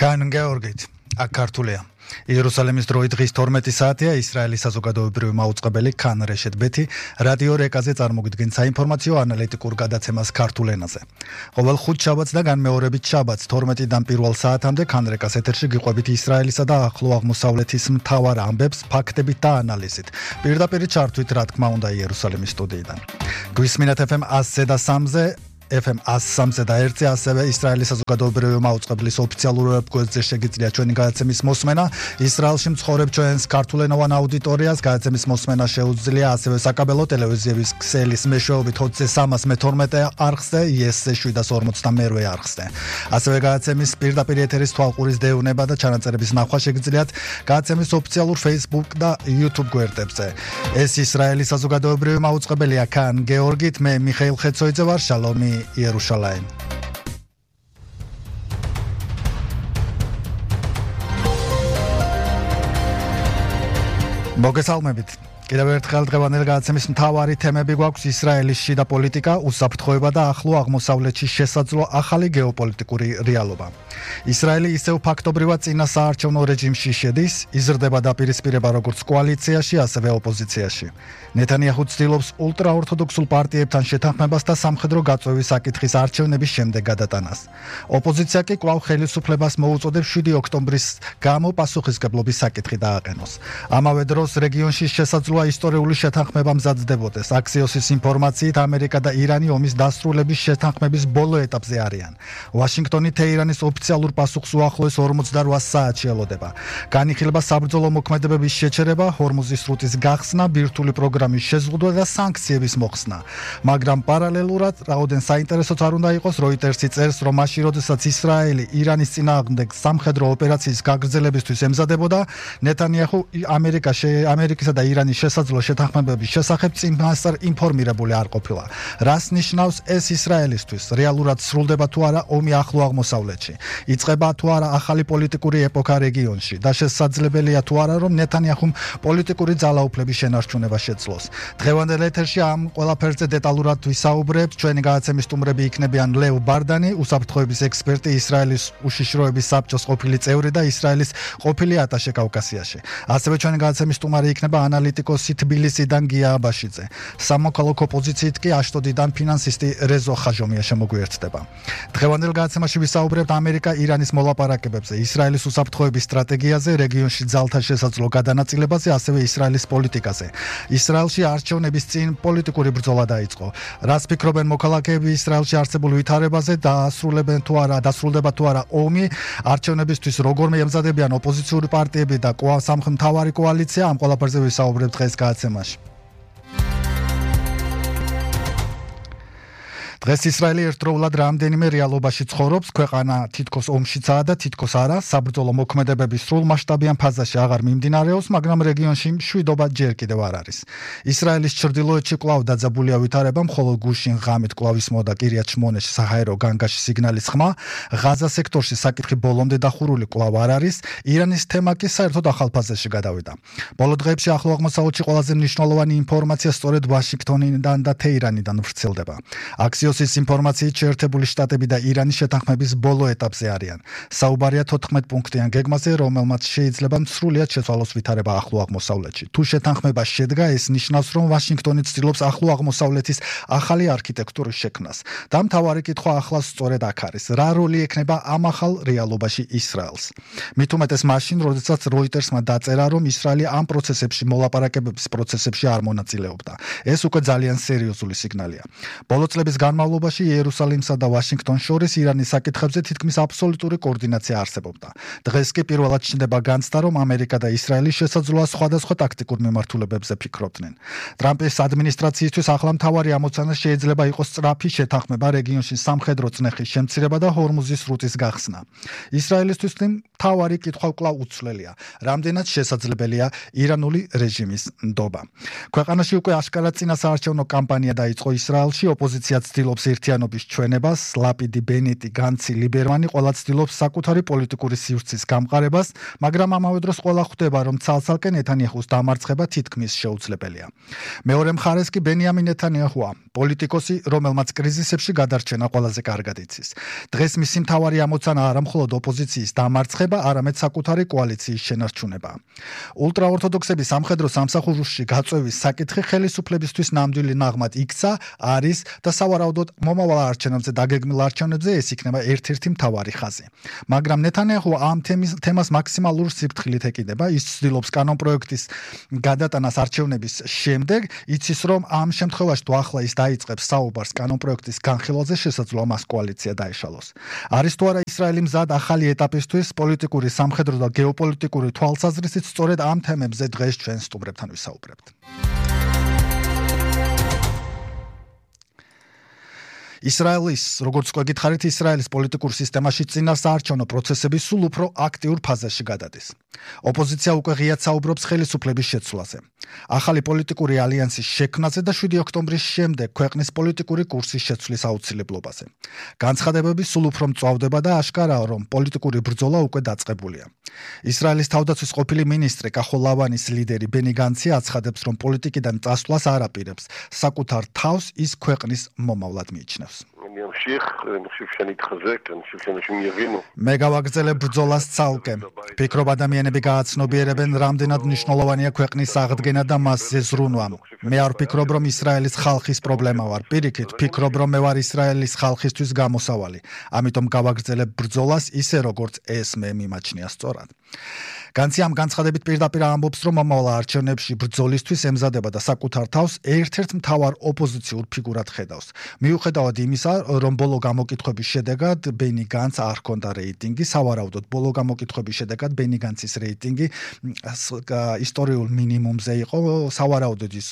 Khan Georgit, Akartulia. იერუსალიმის დროით დღის 12 საათია ისრაელის საზოგადოებრივი მაუწყებელი ქან რეშეთ ბეთი რადიო რეკაზე წარმოგიდგენს საინფორმაციო ანალიტიკურ გადაცემას ქართულ ენაზე. ყოველ ხუთშაბათს და განმეორებით შაბათს 12-დან 1 საათამდე ქან რეკას ეთერში გიყვებით ისრაელისა და ახლო აღმოსავლეთის მთავარ ამბებს, ფაქტებით და ანალიზით. პირდაპირ ჩართვით, რა თქმა უნდა, იერუსალიმის სტუდიიდან. გვისმინათ FM 100-ზე და 3-ზე FM 103-ზე და 1-ზე ასევე ისრაელის საზოგადოებრივი მაუწყებლის ოფიციალურ ვებგვერდზე შეგიძლია ჩვენი გადაცემის მოსმენა. ისრაელში მცხოვრებ ჩვენს ქართულენოვან აუდიტორიას გადაცემის მოსმენა შეუძლია ასევე საკაბელო ტელევიზიის ქსელის მეშვეობით 20-312 არხზე, IS-ზე 752 არხზე. ასევე გადაცემის პირდაპირ ეთერის თვალყურის დეუნება და ჩანაწერების ნახვა შეგიძლიათ გადაცემის ოფიციალურ Facebook და YouTube გვერდებზე. ეს ისრაელის საზოგადოებრივი მაუწყებელია ქან გეორგით, მე მიხეილ ხეცოიძე ვარ, შალომი Იერუსალიმ. მოგესალმებით. კიდევ ერთხელ დღევანდელ გადაცემის მთავარი თემები გვაქვს ისრაელის შიდა პოლიტიკა, უსაფრთხოება და ახლო აღმოსავლეთში შესაძლო ახალი გეოპოლიტიკური რეალობა. ისრაელი ისევ ფაქტობრივად წინა საარჩევნო რეჟიმში შედის, იზრდება დაპირისპირება როგორც კოალიციაში, ასევე ოპოზიციაში. ნეთანიაჰუ ცდილობს ულტრაორთოდოქსულ პარტიებთან შეთანხმებას და სამხედრო გაწვევის საკითხის არჩევნების შემდეგ გადატანას. ოპოზიცია კი კვლავ ხელისუფლებას მოუწოდებს 7 ოქტომბრის გამო პასუხისმგებლობის საკითხი დააყენოს. ამავე დროს რეგიონში შესაძლოა ისტორიული შეთანხმება მზადდებოდეს. აქსიოსის ინფორმაციით ამერიკა და ირანი ომის დასრულების შეთანხმების ბოლო ეტაპზე არიან. ვაშინგტონი თეირანის ოფიციალურ პასუხს უახლოეს 48 საათში ელოდება. განიხილება საბრძოლო მოქმედებების შეჩერება, ჰორმუზის სრუტის გახსნა, ბირთვული პროგრამის შეზღუდვა და სანქციების მოხსნა. მაგრამ პარალელურად რაოდენ საინტერესოც არ უნდა იყოს, როიტერსი წერს, რომ მაშინ, როდესაც ისრაელი ირანის წინააღმდეგ სამხედრო ოპერაციის გაგრძელებისთვის ემზადებოდა, ნეთანიაჰუ ამერიკისა და ირანის შესაძლო შეთანხმებების შესახებ წინასწარ ინფორმირებული არ ყოფილა. რას ნიშნავს ეს ისრაელისთვის? რეალურად სრულდება თუ არა ომი ახლო აღმოსავლეთში? იწყება თუ არა ახალი პოლიტიკური ეპოქა რეგიონში და შესაძლებელია თუ არა, რომ ნეთანიაჰუმ პოლიტიკური ძალაუფლების შენარჩუნება შეძლოს. დღევანდელ ეთერში ამ ყველაფერზე დეტალურად ვისაუბრებთ. ჩვენი გადაცემის სტუმრები იქნებიან ლევ ბარდანი, უსაფრთხოების ექსპერტი, ისრაელის უშიშროების საბჭოს ყოფილი წევრი და ისრაელის ყოფილი ატაშე კავკასიაში. ასევე ჩვენი გადაცემის სტუმარი იქნება ანალიტიკოსი თბილისიდან გია აბაშიძე. სამოქალაქო ოპოზიციით კი აშტოდიდან ფინანსისტი რეზო ხაჟომია შემოგვიერთდება. დღევანდელ გადაცემაში ვისაუბრებთ ამერიკა-ირანის მოლაპარაკებებზე, ისრაელის უსაფრთხოების სტრატეგიაზე, რეგიონში ძალთა შესაძლო გადანაწილებაზე, ასევე ისრაელის პოლიტიკაზე. ისრაელში არჩევნების წინ პოლიტიკური ბრძოლა დაიწყო. რას ფიქრობენ მოქალაქეები ისრაელში არსებულ ვითარებაზე, დასრულდება თუ არა ომი, არჩევნებისთვის როგორმე ემზადებიან ოპოზიციური პარტიები და მთავარი კოალიცია, ამ ყველაფერზე ვისაუბრებთ დღეს გადაცემაში. დღეს ისრაელი ერთდროულად რამდენიმე რეალობაში ცხოვრობს, ქვეყანა თითქოს ომშიცაა და თითქოს არა, საბრძოლო მოქმედებების სრულმასშტაბიან ფაზაში აღარ მიმდინარეობს, მაგრამ რეგიონში მშვიდობა ჯერ კიდევ არ არის. ისრაელის ჩრდილოეთში კვლავ დაძაბულია ვითარება, მხოლოდ გუშინ ღამით კვლავ ისმოდა კირიათ შმონეში საჰაერო განგაში სიგნალის ხმა, ღაზა სექტორში საკითხი ბოლომდე დახურული კვლავ არ არის, ირანის თემა კი საერთოდ ახალ ფაზაში გადავიდა. ბოლო დღეებში ახლო აღმოსავლეთში ყველაზე მნიშვნელოვანი ინფორმაცია სწორედ ვაშინგტონიდან და თეირანიდან ვრცელდება. ის ინფორმაციით შეერთებული შტატები და ირანის შეთანხმების ბოლო ეტაპზე არიან. საუბარია 14 პუნქტიან გეგმაზე, რომელმაც შეიძლება სრულიად შეცვალოს ვითარება ახლო აღმოსავლეთში. თუ შეთანხმება შედგა, ეს ნიშნავს, რომ ვაშინგტონი ცდილობს ახლო აღმოსავლეთის ახალი არქიტექტურის შექმნას. და მთავარი კითხვა ახლა სწორედ აქ არის. რა როლი ექნება ამ ახალ რეალობაში ისრაელს? მით უმეტეს მაშინ, როდესაც როიტერსმა დაწერა, რომ ისრაელი ამ პროცესებში, მოლაპარაკებების პროცესებში არ მონაწილეობდა. ეს უკვე ძალიან სერიოზული სიგნალია. ბოლო წლების განმავლობაში იერუსალიმსა და ვაშინგტონს შორის ირანის საკითხებზე თითქმის აბსოლუტური კოორდინაცია არსებობდა. დღეს კი პირველად ჩნდება განცდა, რომ ამერიკა და ისრაელი შესაძლოა სხვადასხვა ტაქტიკურ მიმართულებებზე ფიქრობდნენ. ტრამპის ადმინისტრაციისთვის ახლა მთავარი ამოცანა შეიძლება იყოს სწრაფი შეთანხმება, რეგიონში სამხედრო წნეხის შემცირება და ჰორმუზის სრუტის გახსნა. ისრაელისთვის მთავარი კითხვა კვლავ უცვლელია. რამდენად შესაძლებელია ირანული რეჟიმის ნდობა? ქვეყანაში უკვე აშკარად წინასაარჩევნო კამპანია დაიწყო ისრაელში, ოპოზიცია ცდილობს ცდილობს ერთიანობის ჩვენებას, ლაპიდი, ბენეტი, განცი, ლიბერმანი ყველა ცდილობს საკუთარი პოლიტიკური სივრცის გამყარებას, მაგრამ ამავე დროს ყველა ხვდება, რომ ცალ-ცალკე ნეთანიაჰუს დამარცხება თითქმის შეუძლებელია. მეორე მხარეს კი ბენიამინ ნეთანიაჰუა, პოლიტიკოსი, რომელმაც კრიზისებში გადარჩენა ყველაზე კარგად იცის. დღეს მისი მთავარი ამოცანა არა მხოლოდ ოპოზიციის დამარცხება, არამედ საკუთარი კოალიციის შენარჩუნება. ულტრაორთოდოქსების სამხედრო სამსახურში გაწევის საკითხი ხელისუფლებისთვის ნამდვილი ნაღმად იქცა, არის და სავარაუდოდ მომავალ არჩევნებზე დაგეგმილ არჩევნებზე ეს იქნება ერთ-ერთი მთავარი ხაზი. მაგრამ ნეთანიაჰუ ამ თემას მაქსიმალურ სიფრთხილით ეკიდება, ის ცდილობს კანონპროექტის გადატანას არჩევნების შემდეგ, იცის რომ ამ შემთხვევაში თუ ახლა ის დაიწყებს საუბარს კანონპროექტის განხილვაზე, შესაძლოა მას კოალიცია დაეშალოს. არის თუ არა ისრაელი მზად ახალი ეტაპისთვის პოლიტიკური, სამხედრო და გეოპოლიტიკური თვალსაზრისით სწორედ ამ თემებზე დღეს ჩვენ სტუმრებთან ვისაუბრებთ. ისრაელის, როგორც გვეკითხარით, ისრაელის პოლიტიკურ სისტემაში წინასაარჩევნო პროცესები სულ უფრო აქტიურ ფაზაში გადადის. ოპოზიცია უკვე ღიად საუბრობს ხელისუფლების შეცვლაზე. ახალი პოლიტიკური ალიანსის შექმნაზე და 7 ოქტომბრის შემდეგ ქვეყნის პოლიტიკური კურსის შეცვლის აუცილებლობაზე. განცხადებები სულ უფრო მწვავდება და აშკარაა, რომ პოლიტიკური ბრძოლა უკვე დაწყებულია. ისრაელის თავდაცვის ყოფილი მინისტრი კახოლავანის ლიდერი ბენი განცი აცხადებს, რომ პოლიტიკიდან წასვლას არ აპირებს, საკუთარ თავს ის ქვეყნის მომავლად მიიჩნევს. მე გავაგრძელებ ბრძოლას ცალკე. ფიქრობ ადამიანები გააცნობიერებენ, რამდენად მნიშვნელოვანია ქვეყნის აღდგენა და მასზე ზრუნვა. მე არ ვფიქრობ, რომ ისრაელის ხალხის პრობლემა ვარ. პირიქით, ვფიქრობ, რომ მე ვარ ისრაელის ხალხისთვის გამოსავალი. ამიტომ გავაგრძელებ ბრძოლას ისე, როგორც ეს მე მიმაჩნია სწორად. განცი ამ განცხადებით პირდაპირ ამბობს, რომ მომავალ არჩევნებში ბრძოლისთვის ემზადება და საკუთარ თავს ერთ-ერთ მთავარ ოპოზიციურ ფიგურად ხედავს. მიუხედავად იმისა, რომ ბოლო გამოკითხვების შედეგად ბენი განცს არ ჰქონდა რეიტინგი, სავარაუდოდ ბოლო გამოკითხვების შედეგად ბენი განცის რეიტინგი ისტორიულ მინიმუმზე იყო, სავარაუდოდ ის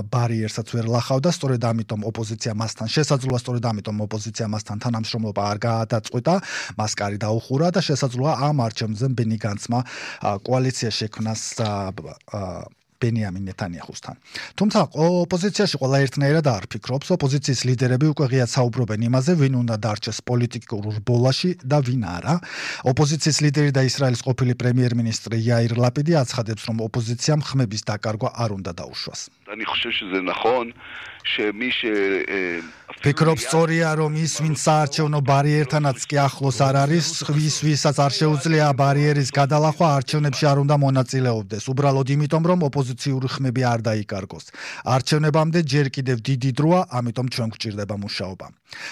ბარიერსაც ვერ ლახავდა, სწორედ ამიტომ ოპოზიცია მასთან შესაძლოა, სწორედ ამიტომ ოპოზიცია მასთან თანამშრომლობა არ გადაწყვიტა, მას კარი დაუხურა და შესაძლოა ამ არჩევნებზე ბენი განცმა კოალიცია შექმნას ბენიამინ ნეთანიაჰუსთან. თუმცა ოპოზიციაში ყველა ერთნაირად არ ფიქრობს, ოპოზიციის ლიდერები უკვე ღიად საუბრობენ იმაზე, ვინ უნდა დარჩეს პოლიტიკურ ბოლაში და ვინ არა. ოპოზიციის ლიდერი და ისრაელის ყოფილი პრემიერ-მინისტრი იაირ ლაპიდი აცხადებს, რომ ოპოზიციამ ხმების დაკარგვა არ უნდა დაუშვას. אני חושב שזה נכון שמי ფიქრობ სწორია, რომ ის, ვინც საარჩევნო ბარიერთანაც კი ახლოს არ არის, ვისაც არ შეუძლია ბარიერის გადალახვა, არჩევნებში არ უნდა მონაწილეობდეს. უბრალოდ იმიტომ, რომ ოპოზიციური ხმები არ დაიკარგოს. არჩევნებამდე ჯერ კიდევ დიდი დროა, ამიტომ ჩვენ გვჭირდება მუშაობა.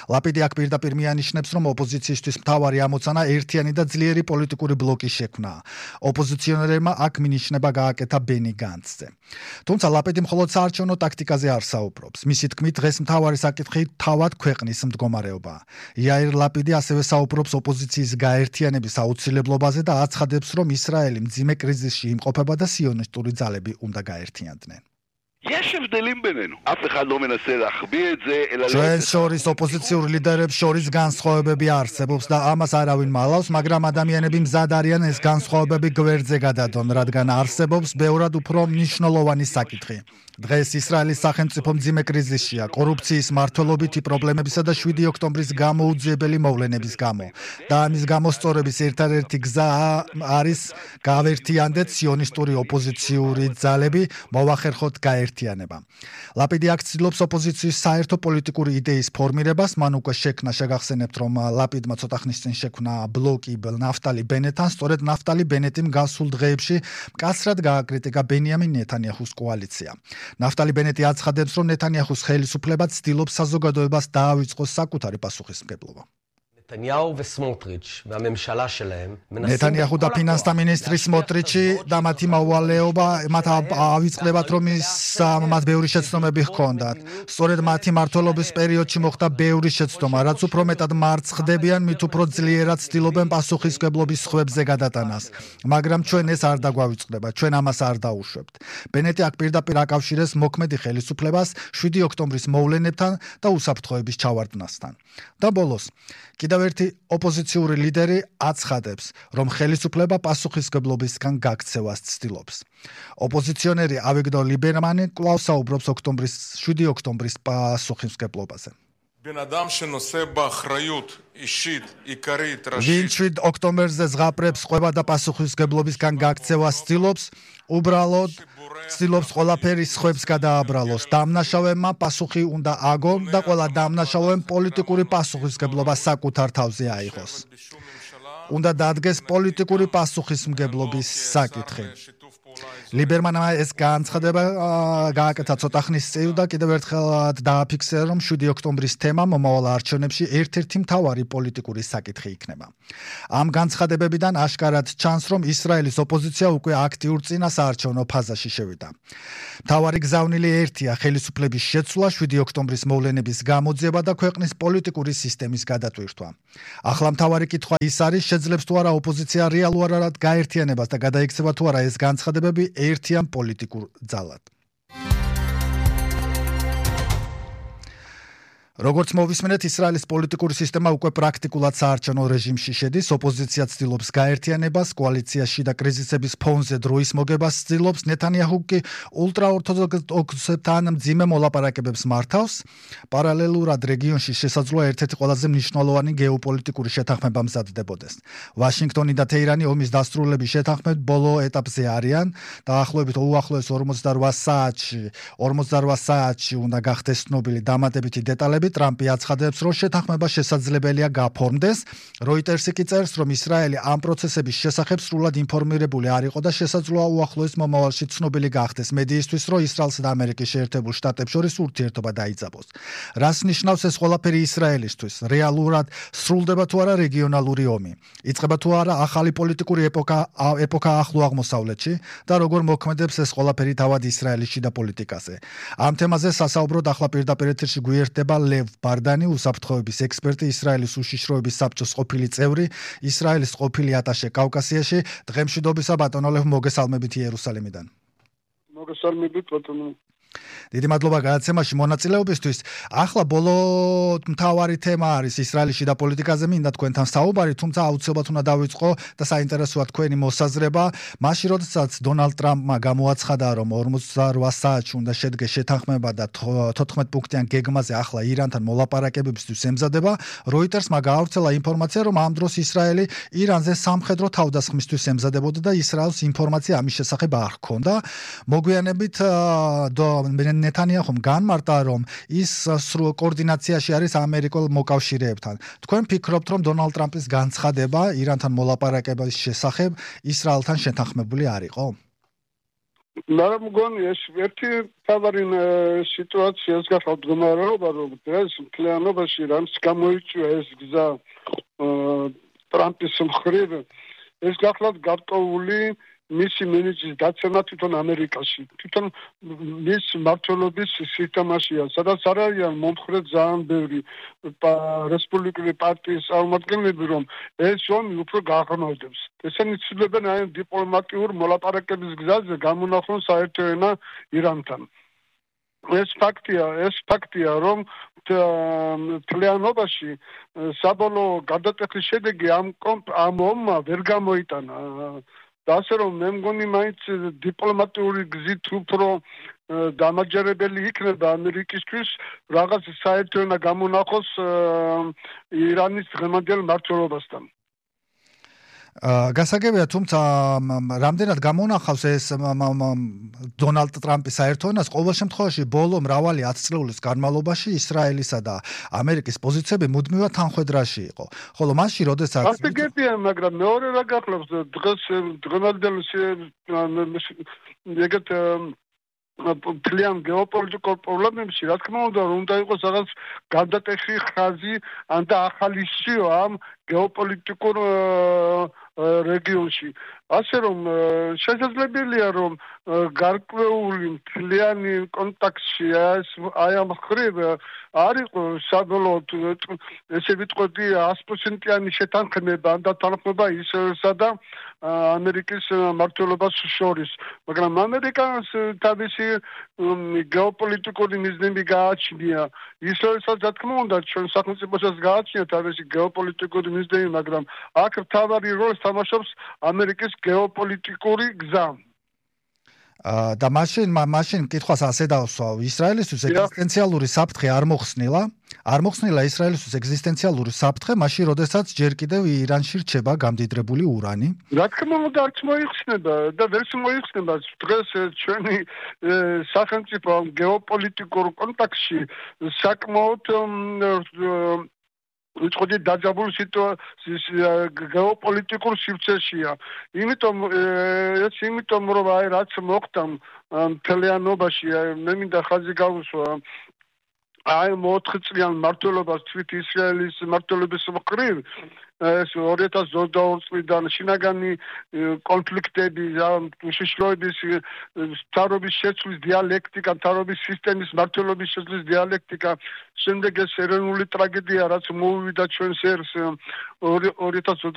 ლაპიდი აქ პირდაპირ მიანიშნებს, რომ ოპოზიციისთვის მთავარი ამოცანა ერთიანი და ძლიერი პოლიტიკური ბლოკის შექმნაა. ოპოზიციონერებმა აქ მინიშნება გააკეთა ბენი განცზე. თუმცა ლაპიდი მხოლოდ საარჩევნო ტაქტიკაზე არ საუბრობს. მისი თქმით, დღეს მთავარი საკითხი თავად ქვეყნის მდგომარეობაა. იაირ ლაპიდი ასევე საუბრობს ოპოზიციის გაერთიანების აუცილებლობაზე და აცხადებს, რომ ისრაელი მძიმე კრიზისში იმყოფება და სიონისტური ძალები უნდა გაერთიანდნენ. יש הבדלים בינינו. אף אחד לא מנסה להחביא את זה, אלא ჩვენ შორის ოპოზიციურ ლიდერებს შორის განსხვავებები არსებობს და ამას არავინ მალავს, მაგრამ ადამიანები მზად არიან ეს განსხვავებები გვერდზე გადადონ, რადგან არსებობს ბევრად უფრო მნიშვნელოვანი საკითხი. დღეს ისრაელის სახელმწიფო მძიმე კრიზისშია, კორუფციის, მართლობითი პრობლემებისა და 7 ოქტომბრის გამოუძიებელი მოვლენების გამო. და ამის გამოსწორების ერთადერთი გზა არის გავერთიანდეთ სიონისტური ოპოზიციური ძალები, მოვახერხოთ გაერთიანება. ლაპიდი აქ ცდილობს ოპოზიციის საერთო პოლიტიკური იდეის ფორმირებას, მან უკვე შექმნა, შეგახსენებთ, რომ ლაპიდმა ცოტა ხნის წინ შექმნა ბლოკი ნაფტალი ბენეტთან, სწორედ ნაფტალი ბენეტიმ გასულ დღეებში მკაცრად გააკრიტიკა ბენიამინ ნეთანიაჰუს კოალიცია. ნაფტალი ბენეტი აცხადებს, რომ ნეთანიაჰუს ხელისუფლება ცდილობს საზოგადოებას დაავიწყოს საკუთარი პასუხისმგებლობა. ნეთანიაჰუ და ფინანსთა მინისტრი სმოტრიჩი და მათი მოვალეობა მათ ავიწყდებათ, რომ მათ ბევრი შეცდომები ჰქონდათ. სწორედ მათი მმართველობის პერიოდში მოხდა ბევრი შეცდომა, რაც უფრო მეტად მარცხდებიან, მით უფრო ძლიერად ცდილობენ პასუხისმგებლობის სხვებზე გადატანას. მაგრამ ჩვენ ეს არ დაგვავიწყდება, ჩვენ ამას არ დაუშვებთ. ბენეტი აქ პირდაპირ აკავშირეს მოქმედი ხელისუფლებას 7 ოქტომბრის მოვლენებთან და უსაფრთხოების ჩავარდნასთან. და ბოლოს კიდევ ერთი ოპოზიციური ლიდერი აცხადებს, რომ ხელისუფლება პასუხისმგებლობისგან გაქცევას ცდილობს. ოპოზიციონერი ავიგდორ ლიბერმანი კვლავ საუბრობს 7 ოქტომბრის პასუხისმგებლობაზე. ვინ 7 ოქტომბერზე ზღაპრებს ყვება და პასუხისმგებლობისგან გაქცევას ცდილობს, უბრალოდ ცდილობს ყველაფერი სხვებს გადააბრალოს. დამნაშავეებმა პასუხი უნდა აგონ და ყველა დამნაშავემ პოლიტიკური პასუხისმგებლობა საკუთარ თავზე აიღოს. უნდა დადგეს პოლიტიკური პასუხისმგებლობის საკითხი. ლიბერმანმა ეს განცხადება გააკეთა ცოტა ხნის წინ და კიდევ ერთხელ დააფიქსირა, რომ 7 ოქტომბრის თემა მომავალ არჩევნებში ერთ-ერთი მთავარი პოლიტიკური საკითხი იქნება. ამ განცხადებებიდან აშკარად ჩანს, რომ ისრაელის ოპოზიცია უკვე აქტიურ წინასაარჩევნო ფაზაში შევიდა. მთავარი გზავნილი ერთია ხელისუფლების შეცვლა, 7 ოქტომბრის მოვლენების გამოძიება და ქვეყნის პოლიტიკური სისტემის გადატვირთვა. ახლა მთავარი კითხვა ის არის, შეძლებს თუ არა ოპოზიცია რეალურად გაერთიანებას და გადაიქცევა თუ არა ეს განცხადებები ერთიან პოლიტიკურ ძალად. როგორც მოვისმენთ, ისრაელის პოლიტიკური სისტემა უკვე პრაქტიკულად საარჩევნო რეჟიმში შედის. ოპოზიცია ცდილობს გაერთიანებას, კოალიციაში და კრიზისების ფონზე დროის მოგებას ცდილობს. ნეთანიაჰუ კი ულტრაორთოდოქსებთან მძიმე მოლაპარაკებებს მართავს. პარალელურად რეგიონში შესაძლოა ერთ-ერთი ყველაზე მნიშვნელოვანი გეოპოლიტიკური შეთანხმება მზადდებოდეს. ვაშინგტონი და თეირანი ომის დასრულების შეთანხმებით ბოლო ეტაპზე არიან. დაახლოებით უახლოეს 48 საათში უნდა გახდეს ცნობილი დამატებითი დეტალები. ტრამპი აცხადებს, რომ შეთანხმება შესაძლებელია გაფორმდეს. როიტერსი კი წერს, რომ ისრაელი ამ პროცესების შესახებ სრულად ინფორმირებული არ იყო და შესაძლოა უახლოეს მომავალში ცნობილი გახდეს მედიისთვის, რომ ისრაელსა და ამერიკის შეერთებულ შტატებს შორის ურთიერთობა დაიძაბოს. რას ნიშნავს ეს ყველაფერი ისრაელისთვის? რეალურად სრულდება თუ არა რეგიონალური ომი? იწყება თუ არა ახალი პოლიტიკური ეპოქა ახლო აღმოსავლეთში და როგორ მოქმედებს ეს ყველაფერი თავად ისრაელის შიდა პოლიტიკაზე? ამ თემაზე სასაუბროდ ახლა პირდაპირ ეთერში გვიერთდება ლევ ბარდანი, უსაფრთხოების ექსპერტი, ისრაელის უშიშროების საბჭოს ყოფილი წევრი, ისრაელის ყოფილი ატაშე კავკასიაში. დღემშვიდობისა ბატონო ლევ, მოგესალმებით იერუსალიმიდან. მოგესალმებით ბატონო. დიდი მადლობა გადაცემაში მონაწილეობისთვის. ახლა ბოლო მთავარი თემა არის ისრაელის შიდა პოლიტიკაზე, მინდა თქვენთან საუბარი, თუმცა აუცილებლად უნდა დავიწყო და საინტერესოა თქვენი მოსაზრება. მაშინ როდესაც დონალდ ტრამპმა გამოაცხადა, რომ 48 საათში უნდა შედგეს შეთანხმება და 14 პუნქტიან გეგმაზე ახლა ირანთან მოლაპარაკებებისთვის ემზადება, როიტერსმა გაავრცელა ინფორმაცია, რომ ამ დროს ისრაელი ირანზე სამხედრო თავდასხმისთვის ემზადებოდა და ისრაელს ინფორმაცია ამის შესახებ არ ჰქონდა. მოგვიანებით ნეთანიაჰუმ განმარტა, რომ ის სრულ კოორდინაციაში არის ამერიკულ მოკავშირეებთან. თქვენ ფიქრობთ, რომ დონალდ ტრამპის განცხადება ირანთან მოლაპარაკების შესახებ ისრაელთან შეთანხმებული არ იყო? მე მგონი ეს ერთი თავარი სიტუაციას გახავთ მდგომარეობა, რომ დღეს მთლიანობაში რამს გამოიწვია ეს გზა ტრამპის მხრივ, ეს გახლავთ გარკვეული მისი მენეჯის დაცემა თვითონ ამერიკაში, თვითონ მის მმართველობის სისტემაშია, სადაც არ არიან მომხრე ძალიან ბევრი რესპუბლიკური პარტიის წარმომადგენლები, რომ ეს ომი უფრო გაღრმავდებს. ესენი ცდილობენ აი დიპლომატიურ მოლაპარაკების გზაზე გამონახონ საერთო ენა ირანთან. ეს ფაქტია, რომ მთლიანობაში საბოლოო გადატეხის შედეგი ამ ომმა ვერ გამოიტანა. და ასე რომ მე მგონი მაინც დიპლომატიური გზით უფრო დამაჯერებელი იქნება ამერიკისთვის რაღაც საერთო ენა გამონახოს ირანის დღევანდელ მმართველობასთან. გასაგებია, თუმცა რამდენად გამონახავს ეს დონალდ ტრამპის საერთო ენას, ყოველ შემთხვევაში ბოლო მრავალი 10 წლების განმავლობაში ისრაელისა და ამერიკის პოზიციები მუდმივად თანხვედრაში იყო. ხოლო მაშინ, როდესაც გასაგებია, მაგრამ მეორე რა გახლავს დღეს დღევანდელ ეგეთ მთლიან გეოპოლიტიკურ პრობლემებში, რა თქმა უნდა იყოს რაღაც გადატეხი ხაზი ან და ახალი სიო ამ გეოპოლიტიკურ რეგიონში. ასე რომ შესაძლებელია, რომ გარკვეული მთლიანი კონტაქტში აი ამ ხრივ არ იყო საბოლოოდ ესე ვიტყოდი 100%-იანი შეთანხმება და თანხმობა ისრაელსა და ამერიკის მმართველობას შორის. მაგრამ ამერიკას თავისი გეოპოლიტიკური მიზნები გააჩნია. ისრაელსაც რა თქმა უნდა ჩვენ სახელმწიფოსაც გააჩნია თავისი გეოპოლიტიკური მიზნები, მაგრამ აქ მთავარი როლს თამაშობს ამერიკის გეოპოლიტიკური გზა. და მაშინ კითხვას ასე დავსვავ. ისრაელისთვის ეგზისტენციალური საფრთხე არ მოხსნილა ისრაელისთვის ეგზისტენციალური საფრთხე, მაშინ როდესაც ჯერ კიდევ ირანში რჩება გამდიდრებული ურანი. რა თქმა უნდა, არც მოიხსნება და ვერც მოიხსნება. დღეს ჩვენი სახელმწიფო გეოპოლიტიკურ კონტექსტში საკმაოდ უწყოდი დაძაბულ სიტუაციის გეოპოლიტიკურ სივრცეშია. იმიტომ რომ აი რაც მოხდა მთლიანობაში, მე მინდა ხაზი გავუსვა აი 4 წლიან მმართველობას თვით ისრაელის მმართველობის მხრივ ეს 2022 წლიდან შინაგანი კონფლიქტები, უშიშროების მთავრობის შეცვლის დიალექტიკა, მთავრობის სისტემის მმართველობის შეცვლის დიალექტიკა, შემდეგ ეს ეროვნული ტრაგედია, რაც მოუვიდა ჩვენს ერს 2022